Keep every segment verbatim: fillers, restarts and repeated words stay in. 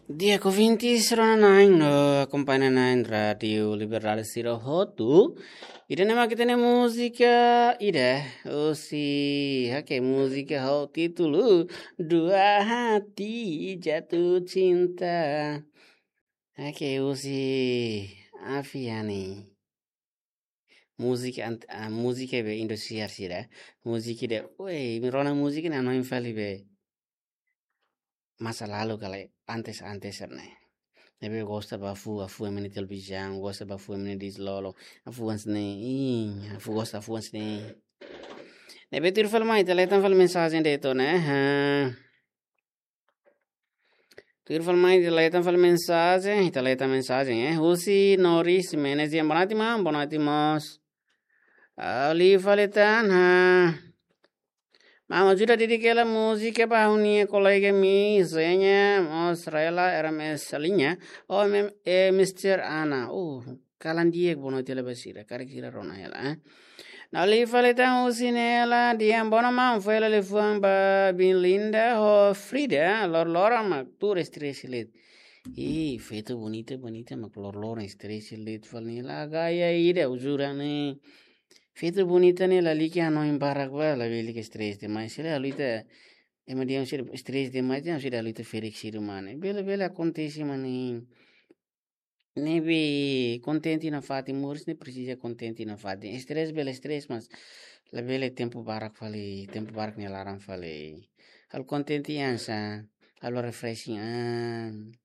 Di'ak ouvintes rona-na'in no akompaña na'in Rádiu Liberdade sira hotu. Ida-ne'e mak ita-nia múzika ida, husi, oke, múzika ho títulu Dua Hati Jatuh Cinta. Oke, husi Aviani. Múzika ant-, ah, múzika be Indosiar sira. Múzika ida, oi, imi rona múzika ne'e hanoin fali be masa lalu ka lae, antes, antes ne'e. Ne'ebé gosta ba fuan, fuan ema nia televizaun, gosta ba fuan ema nia dislolo, fuan sira-ne'e, ih, fuan gosta fuan sira-ne'e. Ne'ebé tuir fali mai, ita hetan fali mensajen de'it ona, ha. Tuir fali mai, ita hetan fali mensajen, ita hetan mensajen, eh. Husi Noris Menezes, boa noite, maun, boa noite, mós. Liu fali tan, ha. Maun ajuda dedika hela múzika ba ha'u-nia kolega imi, Zenya, mós Rela, R M S Salinha, oh, M-, eh, Mister Ana. Uh, kalan di'ak boa noite hela ba sira, karik sira rona hela, eh. No liu fali tan husi Nela, di'ak, boa noite maun, fó hela liafuan ba biin Linda, ho Frida, lor-loron mak tuur stress de'it. Ih, feto bonita, bonita, mak lor-loron stress de'it fali Nela, gaya ida, jura ne'e. Feto bonita ne'e lalika hanoin barak ba, labele ke stress demais. Sira halo ita, ema dehan sira stress demais, dehan sira halo ita ferik sira mane. Bele, bele akontese mane. Ne'ebé kontente nafatin, moris ne'e presiza kontente nafatin. Stress bele stress, mas labele tempu barak fali, tempu barak nia laran fali. Halo kontente hanesan, halo refreshing an.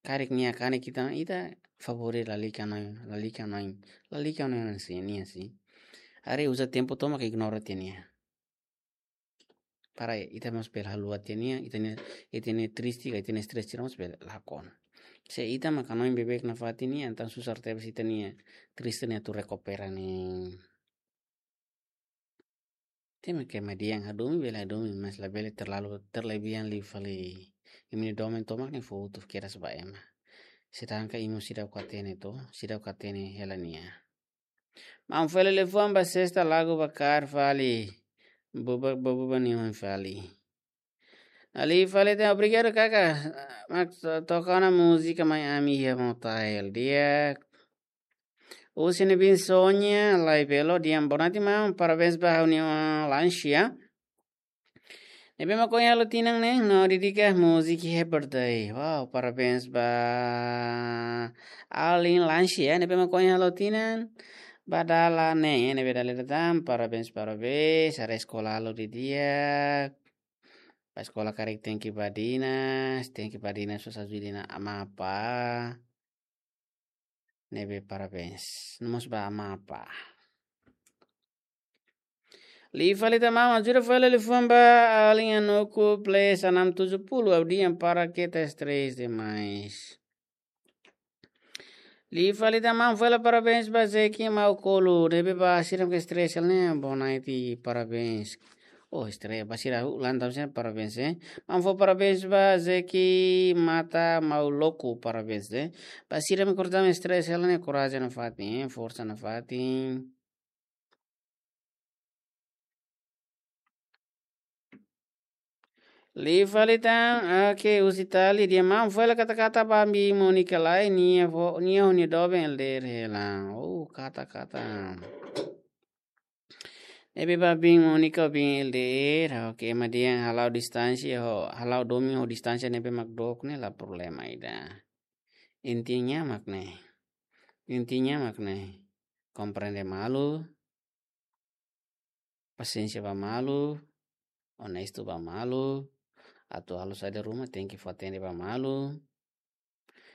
Karik nia kanek ita, ita favore lalika hanoin, lalika hanoin, lalika hanoin hanesan nia, si. Haree uza tempu tomak ignora tiha nia. Para ita mós bele haluha tiha nia, ita-nia, ita-nia triste, ka ita-nia stress sira mós bele lakon. Se ita mak hanoin beibeik nafatin nia, entaun susar tebes ita-nia triste ne'e atu rekupera ne'e. Temi ke median hadomi bele hadomi, mas labele terlalu terlebihan liu fali. Imi-nia domin tomak ne'e fó hotu kedas ba ema. Sedangkan imi seidauk hatene to, seidauk hatene hela nia. Maun fó hela liafuan ba sesta lagu ba kaer fali. Boba, boba, boba nia oin fali. Liu fali tan, obrigadu kaka. Mak to-, toka ona múzika mai ami iha motael. Di'ak. Husi ne'e biin Sonia, Lai Belo, di'ak, boa noite maun, parabéns ba ha'u-nia lansia. Ne'ebé mak ohin halo tinan ne'e, no dedika múzika happy birthday. Wow, parabéns ba alin lansia, ne'ebé mak ohin halo tinan. Ba dala ne'e, ne'ebé dala ida tan, parabéns, parabéns, haree eskola halo didi'ak. Ba eskola karik tenke badinas, tenke badinas, só ajuda ona amá apá. Ne'ebé parabéns. No mós ba amá apá. Liu fali tan maun, ajuda fó hela liafuan ba alin Anuku, plus enam tujuh puluh, ha'u dehan para keta stress demais. Liu fali tan maun, fó hela parabéns ba Zeki Maukolu. Ne'ebé ba sira mak stress hela ne'e, boa noite, parabéns. Oh, stress, ba sira hu, lantau sen, parabéns, eh. Maun fó parabéns ba Zeki Mata Mauloku, parabéns, eh. Ba sira mak korta stress hela ne'e, korajen nafatin, eh, forsa nafatin. Liu fali tan, oke, husi Tali, di'ak maun, fó hela kata-kata ba biin Monika lai, nia fó, nia ho nia doben L D R hela. Oh, kata-kata. Ne'ebé ba biin Monika, biin L D R, oke, ema dehan hala'o distánsia ho, hala'o domin ho distánsia ne'ebé mak dook ne'e la problema ida. Intinya mak ne'e. Intinya mak ne'e. Komprende malu, pasiénsia ba malu, onestu ba malu, atu halo saida ruma tenke fó atende ba malu.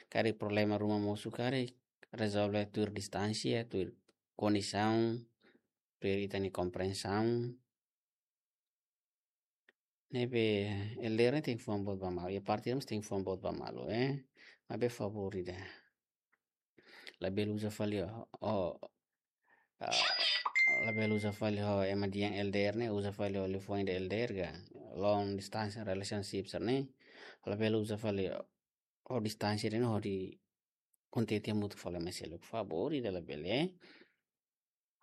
Karik problema ruma mosu karik, rezolve tuir distánsia, tuir kondisaun, tuir ita-nia komprensaun. Ne'ebé L D R ne'e tenke fuan boot ba malu, iha parte ne'e mós tenke fuan boot ba malu, eh. Maibé favór ida. Labele uza fali ho, ho, ah, labele uza fali ho ema dehan L D R ne'e, uza fali ho liafuan ida L D R ka, long distance relationship sira-ne'e. Labele uza fali ho, ho distánsia ne'e hodi kontente hamutuk fali ema seluk, favór ida labele, eh.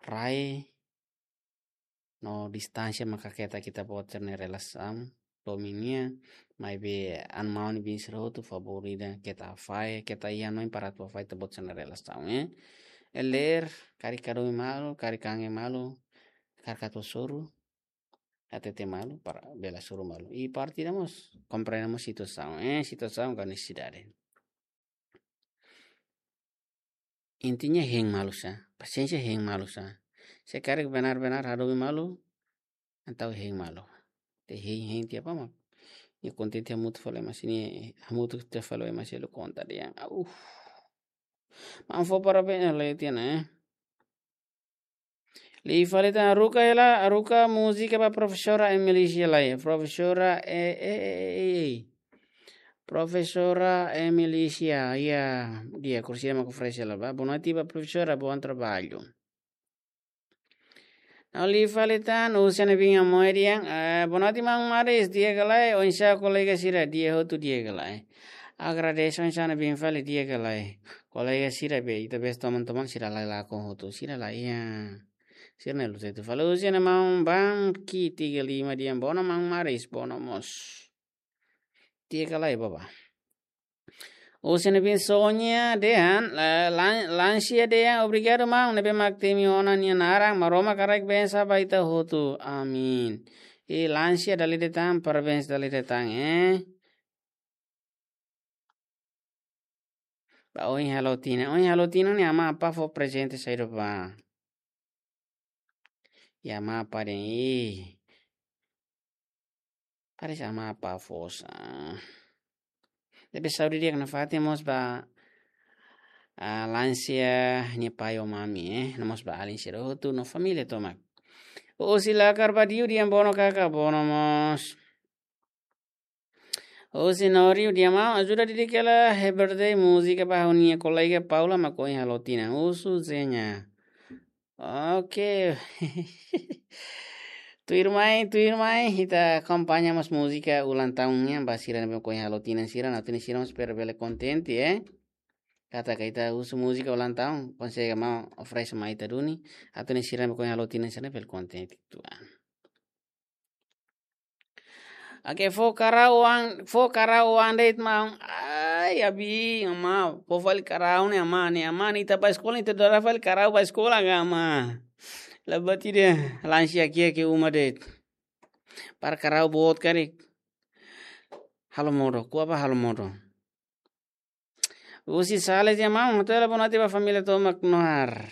Rai no distánsia maka keta ita-boot sira-nia relasaun. domin nian, maibé an maun nia biin sira hotu favór ida keta fahe, keta iha hanoin para atu fahe ita-boot sira-nia relasaun, eh. Lee, karik hadomi malu, karik kangen malu, karik atu hasoru, hatete malu, para bele hasoru malu. I parte ida mós, komprende mós situasaun, eh, situasaun ka nesesidade. Intinya hein malu sá, pasiénsia hein malu sá. Se karik benar-benar hadomi malu, entaun hein malu. Te hein, hein tiha ba mak. Nia kontente hamutuk fali, mas nia hamutuk tiha fali, mas nia konta dehan. Uf. Maun fó parabéns lai tiha ona, eh. Liu fali tan, haruka hela, haruka múzika ba profesora Emilicia lai. Profesora, eh, eh, eh, eh, eh. Profesora Emilicia, ya, di'ak, kursi mak oferese hela ba. Boa noite ba profesora, bom trabalho. Ha'u liu fali tan, husi ne'ebé mak mai dehan, eh, boa noite maun Maris, di'ak ka lae, oinsá kolega sira, di'ak hotu, di'ak ka lae. Agradese oinsá ne'ebé mak fali, di'ak ka lae. Kolega sira be, ita besik toman-toman sira lai lakon hotu, sira lai iha. Sira ne'e luta itu fali, husi ne'e maun Bangki tiga lima dehan, boa ona maun Maris, boa ona mós. Di'ak ka lae bá. Husi ne'ebé mak Sonia dehan, la-, lan-, Lansia dehan, obrigadu maun ne'ebé mak temi ona nia naran, Maromak haraik bensa ba ita hotu. Amin. I Lansia dala ida tan, parabéns dala ida tan, eh. Ba oin halo tinan, oin halo tinan ne'e amá apá fó prezente saida ba? Ya, amá apá dehan, ih. Parese amá apá fó sá. Ne'ebé saúde di'ak nafatin mós ba, ah, Lansia nia pai ho mami, eh. No mós ba alin sira hotu no família tomak. Husi Lakar Badiu dehan boa ona kaka, boa ona mós. Husi Noriu dehan maun, ajuda didik hela Happy Birthday múzika ba ha'u-nia kolega Paula mak ohin halo tinan. Husu Zenya. Oke. Tuirmai, tuirmai, ita akompaña mós múzika ulang tahun nian ba sira ne'ebé mak ohin halo tinan sira, no tinan sira mós espera bele kontente, eh. Katak ita husu múzika ulang tahun, konsege maun oferese mai ita duni, atu nune'e sira ne'ebé mak ohin halo tinan sira bele kontente tuan. Oke, fó karau an, fó karau an de'it maun. Ai, abi, amá, fó fali karau ne'e amá, ne'e amá, ne'e ita ba eskola, ita dada fali karau ba eskola ka amá. Labati de'it, Lansia ki'ik-ki'ik uma de'it. Para karau boot karik. Halo modo, ko'a ba halo modo. Husi Sales dehan maun, hato'o hela boa noite ba família tomak no ar.